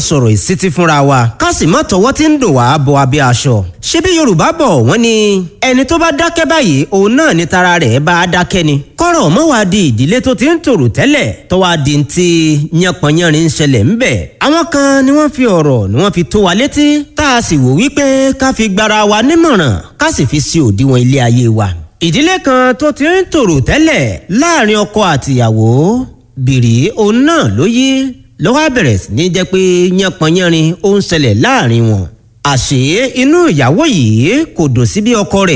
Sọ̀rọ̀ ìsítí fúnra wa, ká sì má tọwọ́ tí ń dò wá bọ abẹ́ aṣọ. Ṣebí Yorùbá bọ̀, wọ́n ní ẹni tó bá dákẹ́ báyìí, òun náà ni tara rẹ̀ bá a dákẹ́ ni. Kọ́rọ̀ mọ́ wá di ìdílé tó ti ń tòrò tẹ́lẹ̀ tó wá di ti yánpọnyánrin ń ṣẹlẹ̀ ńbẹ̀. Àwọn kan ni wọ́n fi ọ̀rọ̀ ni wọ́n fi tó wa létí, tá a sì wò wípé ká fi gbara wa nímọ̀ràn, ká sì fi sí òdiwọ̀n ilé ayé wa. Ìdílé kan tó ti ń tòrò tẹ́lẹ̀ láàrin ọkọ àtìyàwó, bìrì òun náà ló yí ló wá bẹ̀rẹ̀ sí ní jẹ́ pé yánpọnyánrin ó ń ṣẹlẹ̀ láàrin wọn. Àṣé inú ìyàwó yìí kò dùn sí bí ọkọ rẹ̀